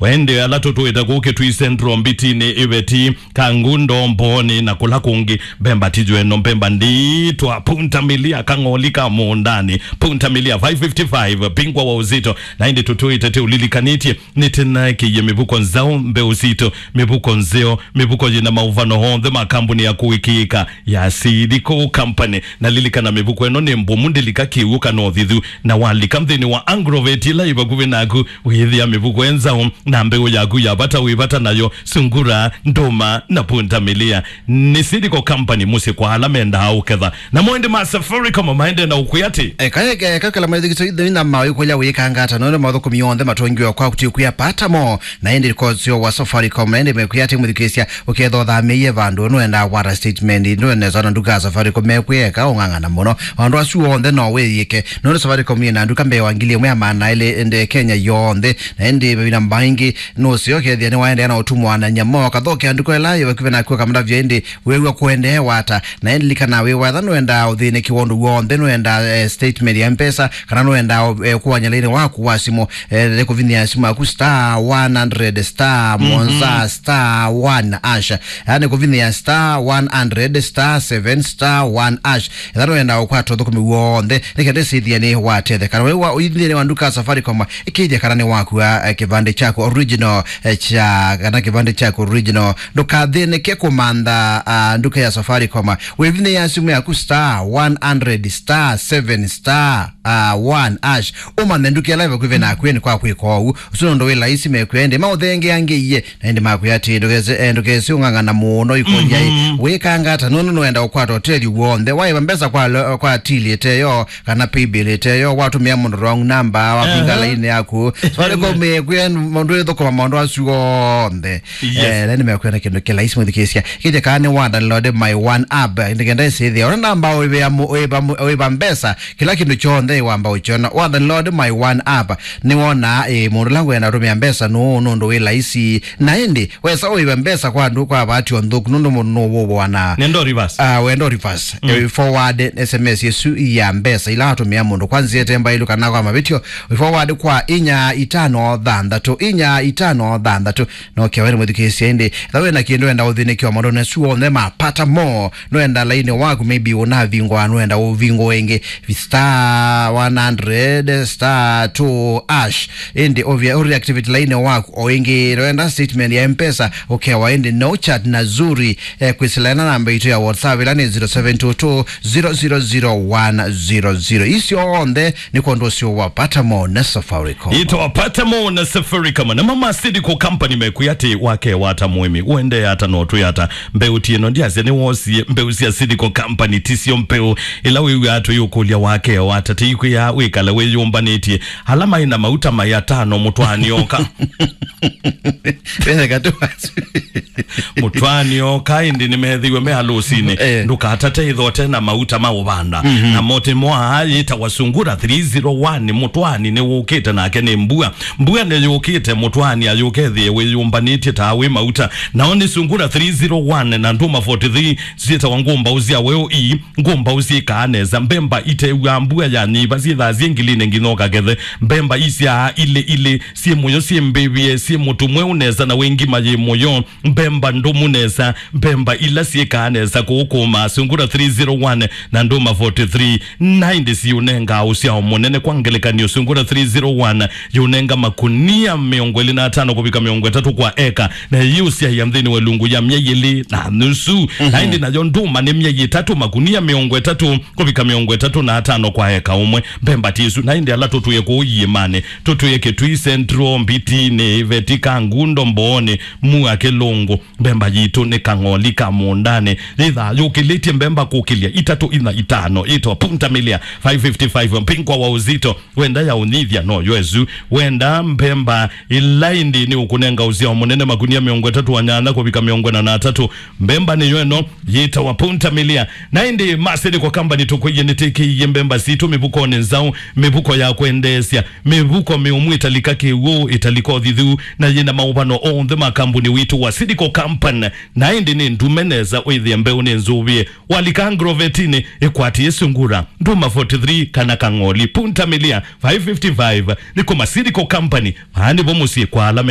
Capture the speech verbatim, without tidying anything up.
Wende ala tũtũĩte kũũ Kitui Central, Mbitinĩ, Iveti, Kangundo, Mbooni na kũla kũngĩ, mbemba ti yu ĩno, mbemba nditwa, Punta Milia, kang'oli ka mũũndanĩ, Punta Milia five fifty-five, bingwa wa uzito, na ĩndĩ tũtũĩte tũũlilikanĩtye, nĩtũnengeie mĩvuko nzaũ, mbeũ sitũ, mĩvuko nzeo, mĩvuko yĩna maũvano onthe ma kambuni ya kũĩkĩĩka ya Seed Co Company. Na lilikana, mĩvuko ĩno nĩ mbũmu, ndĩlika kĩw'ũ kana ũthithu. Na walika nthĩnĩ wa Agrovet ĩla ĩ vakuvĩ naku, wĩthĩa mĩvuko ĩ nzaũ, na mbeũ yaku ya vata wĩ vata nayo, sungura, ndũma, na punta milia. Nĩ Seed Co Company, mũsyĩ kwa ala mendaa ũketha. Namo ĩndĩ ma Safaricom maendee na ũkwĩa atĩ, eka, eka, eka kĩla maithikiso ithĩna ma wĩkũlya wĩkanga ata, nũndũ mathũkũmi onthe matũngiwe kwaku ti kwĩa pata mo. Na ĩndĩ kosio wa Safaricom, na ĩndĩ mekwĩa atĩ, mũthikĩĩsya, ũkethĩa ũthamĩĩe vandũ, nũendaa kwata statement, nũenesa na nduka ya Safaricom, mekwĩa eka ũng'ang'ana mũno. Maũndũ asu onthe no wĩyĩke, nũndũ Safaricom yĩ na nduka mbee wa ngili ĩmwe ya maana elĩ ĩndĩ Kenya yonthe, na ĩndĩ mavinda maingĩ nũseo ũkethĩa nĩwaendeea na ũtumwa na nyama, ũkathokea nduka ĩla yĩ vakuvĩ naku ũkamũtavya, ĩndĩ wĩw'a kũendeewa ata. Na ĩndĩ lilikana, wĩ watha nũendaa ũthĩnĩkĩwa ũndũ w'onthe, nũendaa, eh, statement ya mpesa, kana nũendaa, eh, kũany'a lainĩ waku wa simũ, eh, nĩ kũvinyĩa simũ yaku star one hundred star mũonza star one hash. Yaani kũvinyĩa star one hundred star seven star one hash. Ethĩwa nũendaa ũkwata ũthũkũmi w'onthe, nĩ kenda ĩsĩthĩa nĩ watetheka. Na wĩw'a ũi nthĩnĩ wa nduka ya Safaricom, ĩkĩĩthya kana nĩ wakua, eh, kĩvandĩ kyaku original, eh, kya, kana kĩvandĩ kyaku original. Ndũkathĩnĩke kũmantha, ah, nduka ya Safaricom. Wĩvinyĩĩa simũ yaku star one hundred star seven star, ah, one hash. Ũmanthe nduka ĩla ĩ vakuvĩ naku nĩ kwa kwĩka ũu. Ũsu nũndũ wĩ laisi mekwĩa, ĩndĩ maũthengeangĩie, na ĩndĩ makwĩa atĩ, ndũkese, eh, ndũkese ũng'ang'ana mũno ikũlya ĩ. Mhm. Wĩkanga ata, nũndũ nũenda ũkwata ũtethyo w'onthe. Waĩva mbesa kwa lo-, kwa till ĩteyo, kana paybill ĩteyo, watũmĩa mũndũ wrong number, wavinga lainĩ yaku. Safaricom ĩkwĩa mũndũ ĩthũkũma maũndũ asu onthe. Yes. Eh, na nĩmekwĩa na kĩndũ kĩlaisi, mũthikĩĩsya. Kĩthya kana nĩ wa download My One app, nĩkenda ĩsĩthĩa. Ona namba ũĩva mu-, ũĩva mu-, ũĩva mbesa, kĩla kĩndũ kyonthe wamba ũkyona. Wa download My One app, nĩwonaa, ĩ, mũndũ ũla ngwenda ũtũmĩa mbesa nũũ, nũndũ wĩ laisi. Na ĩndĩ, wesa ũĩva mbesa kwa andũ kwa vaati o nthũku, nũndũ mũndũ nũwũvoana. Nenda reverse. Ah, wenda reverse. Mm. Eh, forward S M S ĩsu ya mbesa ila watũmĩa mũndũ kwa nzĩa ĩte mbaĩlu kana kwa mavĩtyo, forward kwa inya itano thanthatũ, inya itano thanthatũ. No kewe nĩ mũthikĩĩsya, ĩndĩ ethĩwa wĩ na kĩndũ wenda ũthĩnĩkĩwa maũndũ asu onthe ma pata mo, nũenda lainĩ waku, maybe ũnavingwa, nũenda ũvingwa ĩngĩ, star one hundred star two hash. Ĩndĩ ũvia ũreactivate lainĩ waku o ĩngĩ, nũenda statement ya mpesa, ũkewa ĩndĩ no chat na Zuri, eh, kwĩsĩlaĩla namba itũ ya WhatsApp, ĩla nĩ zero seven two two zero zero zero one zero zero. Isu onthe nĩ kwondũ ũsio wa pata mo na Safaricom. Ĩtwa pata mo na Safaricom. Na mama Seed Co Company mekwĩa atĩ, wakewa ata mũĩmi, ũendee ata, no twĩ ata? Mbeũ ti ĩno, ndiasya nĩwosie mbeũ sya Seed Co Company, ti syo mbeũ ĩla wĩw'aa tũyũkũlya, wakewa ata? Tĩikwĩa wĩkale wĩyũmbanĩtye. Ala maĩ na mauta maĩ atano, mũtwaani oka. Wetheka tu asu. Mũtwaani oka, ĩndĩ nĩmethĩiwe me alũsinĩ. Eh. Ndũkatate ĩthote na mauta ma ũvanda. Mhm. Na mote mo aa yĩtawa Sungura three zero one, mũtwaani nĩwũkĩte nake nĩ mbua. Mbua nĩyũkĩte, mũtwaani ayũkethĩe wĩyũmbanĩtye ta wĩ mauta. Nao nĩ Sungura three zero one na Ndũma forty-three syĩtawa ngũmbaũ sya weũ ii, ngũmbaũ syĩkaa nesa, mbemba itew'aa mbua ya nyiva syĩthaa syĩ ngilinĩ nginya ũkakethe, mbemba isyaa ilĩ ilĩ, syĩ mũyo, syĩ mbĩvĩe, syĩ mũtu mweũ nesa na wĩ ngima yĩ mũyo, mbemba ndũmu nesa, mbemba ila syĩkaa nesa kũũkũũma, Sungura three zero one na Ndũma forty-three, na ĩndĩ siũnengaa ũsyao mũnene. Kwa ngelekany'o, Sungura three zero one yũnenga makunia mĩongo ĩlĩ na atano kũvika mĩongo ĩtatũ kwa eka, na ĩyĩũsyaĩa nthĩnĩ wa ĩlungu ya myei ĩlĩ na nusu. Mhm. Na ĩndĩ nayo ndũma nĩ myei ĩtatũ, makunia mĩongo ĩtatũ kũvika mĩongo ĩtatũ na atano kwa eka ũmwe. Mbemba ti isu, na ĩndĩ ala tũtwĩe kũu iĩmanĩ, tũtwĩe Kitui Central, Mbitinĩ, Iveti, Kangundo, Mbooni, Mua, Kĩlũngũ, mbemba yitũ nĩ kang'oli ka mũũndanĩ. Yĩthaa yũkĩlĩtye mbemba kũkĩlya itatũ, ina, itano, yĩtawa Punta Milia five fifty-five, mbingwa wa uzito. Wenda ya ũnyithya, no yo ĩsu. Wenda mbemba ĩla ĩndĩ nĩ ũkũnenga ũsyao mũnene, makunia mĩongo ĩtatũ na nyanya kũvika mĩongo ĩna na atatũ. Mbemba nĩyo ĩno, yĩtawa Punta Milia. Na ĩndĩ ma Seed Co Company tũkwĩie nĩtĩkĩie mbemba sitũ mĩvukonĩ nzaũ, mĩvuko ya kwendeesya, mĩvuko mĩũmu ĩtalika kĩw'ũ, ĩtalika ũthithu, na yĩna maũvano onthe ma kambuni witũ wa Seed Co Company. Na ĩndĩ nĩ ndume nesa wĩthĩe mbeũ nĩ nzũvĩe. Walika Agrovetinĩ, ĩkwatĩe Sungura, Ndũma forty-three kana kang'oli, Punta Milia five fifty-five, nĩ kuma Seed Co Company. Vaa nĩvo mũsyĩ kwa ala menda